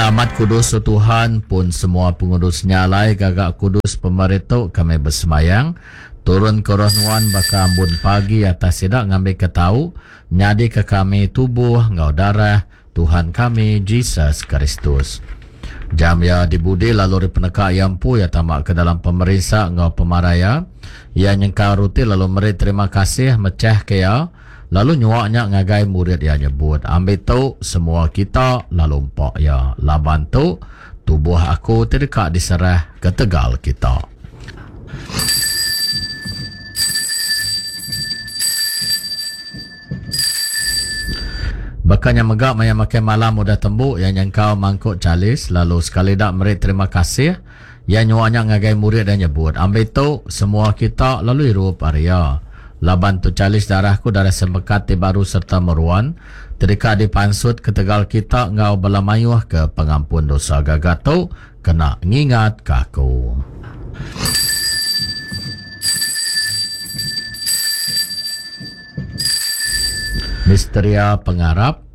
Enda amat kudus o Tuhan, pun semua pengudus nya alai gaga kudus pemeri tu kami besemayang, turun ke roh nuan baka ambun pagi atas sida ngambika tau nyadika kami tubuh enggau darah Tuhan kami Jesus Kristus. Jam iya dibudi lalu ari peneka iya empu iya tama ke dalam pemerinsa enggau pemarai iya. Iya nyengkau ruti lalu meri terima kasih mechahka iya lalu nyua nya ngagai murid iya nyebut, Ambi tu semua kita lalu empa iya, laban tu tubuh aku ti deka diserah ketegal kita. Baka nya mega maya makai malam udah tembu iya nyengkau mangkuk chalis lalu sekali da meri terima kasih iya nyua nya ngagai murid iya nyebut, Ambi tu, semua kita lalu irup ari iya. Laban tu chalis darah ku darah sempekat ti baru sereta meruan ti deka dipansut ketegal kita enggau bala mayuh ke pengampun dosa gaga tu kena ngingatka aku. Misteria Pengarap,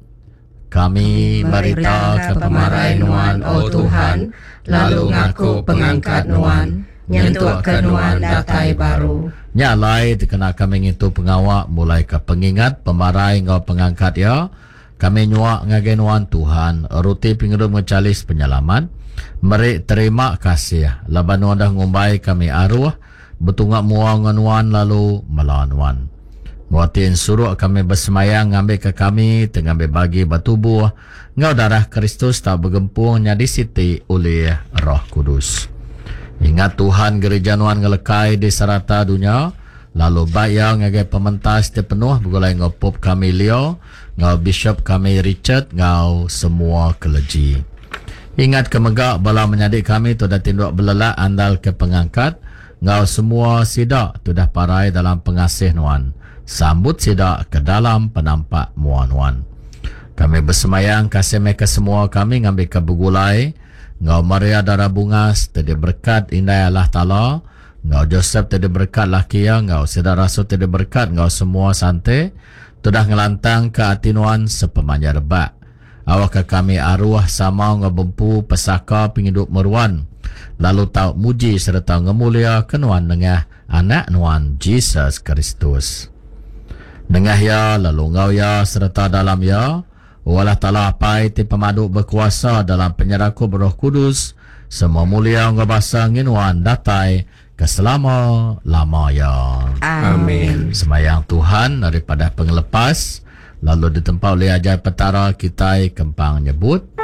Kami meritaka pemarai Nuan, O Tuhan, lalu ngaku pengangkat Nuan, nyentukka Nuan datai baru. Nya alai, dikena kami ngintu pengawa mulaika pengingat pemarai enggau pengangkat Iya, kami nyua ngagai Nuan, Tuhan, ruti pengidup enggau chalis penyelamat, meri terima kasih laban Nuan udah ngumbai kami aruh, Betunga mua enggau nuan lalu mela nuan. Enggau ati ensuruk kami besemayang ngambika kami ti ngambi bagi ba tubuh enggau darah Kristus tau begempung nyadi siti ulih Roh Kudus. Ingat Tuhan gerija nuan ngelekai di serata dunya lalu bai iya ngagai pementas ti penuh begulai enggau Pope kami Leo enggau Bishop kami Richard enggau semua keleji. Ingatka mega bala menyadi kami ti udah tinduk belelak andalka pengangkat, enggau semua sida ti udah parai dalam pengasih Nuan. Sambut sida ke dalam penampak mua Nuan. Kami besemayang kasih meh ke semua kami ngambika begulai enggau Maria Dara Bungas ti diberekat Indai Allah Taala, enggau Josep ti diberekat laki iya, enggau sida rasul ti diberekat enggau semua sante ti udah ngelantangka ati Nuan sepemanjai rebak. Awakka kami aruh sama enggau bempu pesaka pengidup meruan, lalu tau muji sereta ngemuliaka Nuan nengah Anak Nuan, Jesus Kristus. Nengah Iya, lalu enggau Iya sereta dalam Iya, O Allah Taala Apai ti pemadu bekuasa dalam penyerakup Roh Kudus, semua mulia enggau basa enggi Nuan datai ke selama-lama iya. Amin. Semayang Tuhan ari padah pengelepas, lalu ditempa ulih ajar Petara kitai kempang nyebut.